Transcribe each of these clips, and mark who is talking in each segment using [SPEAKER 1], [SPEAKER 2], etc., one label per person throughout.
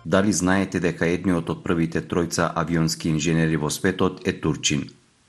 [SPEAKER 1] Дали знаете дека едниот од првите тројца авионски инженери во светот е турчин?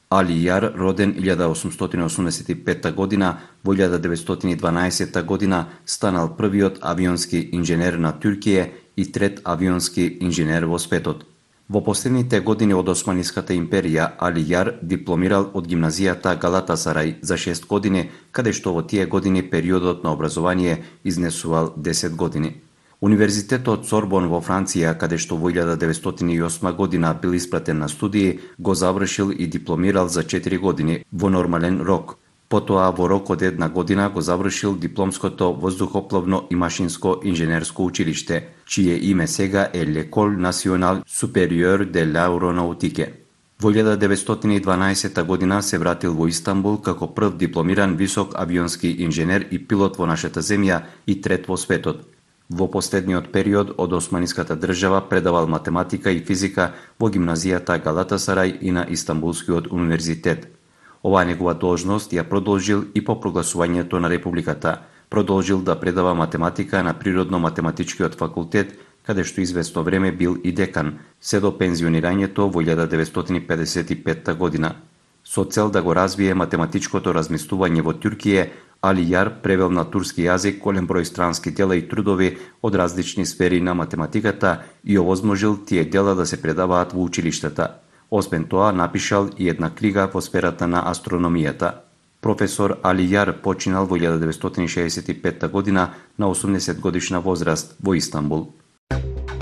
[SPEAKER 1] Али Јар, роден 1885 година, во 1912 година станал првиот авионски инженер на Туркија и трет авионски инженер во светот. Во последните години од Османската империја, Али Јар дипломирал од гимназијата Галатасарај за 6 години, каде што во тие години периодот на образование изнесувал 10 години. Универзитетот Сорбон во Франција, каде што во 1908 година бил испратен на студии, го завршил и дипломирал за 4 години во нормален рок. Потоа во рок од 1 година го завршил дипломското воздухопловно и машинско инженерско училиште, чие име сега е L'École Nationale Supérieure de l'Aéronautique. Во 1912 година се вратил во Истанбул како прв дипломиран висок авионски инженер и пилот во нашата земја и трет во светот. Во последниот период од Османската држава предавал математика и физика во гимназијата Галатасарај и на Истанбулскиот универзитет. Оваа негова должност ја продолжил и по прогласувањето на републиката. Продолжил да предава математика на Природно-математичкиот факултет, каде што известно време бил и декан, се до пензионирањето во 1955 година. Со цел да го развие математичкото размислување во Туркија, Али Јар превел на турски јазик голем број странски дела и трудови од различни сфери на математиката и овозможил тие дела да се предаваат во училиштата. Освен тоа, напишал и една книга во сферата на астрономијата. Професор Али Јар починал во 1965 година на 80 годишна возраст во Истанбул.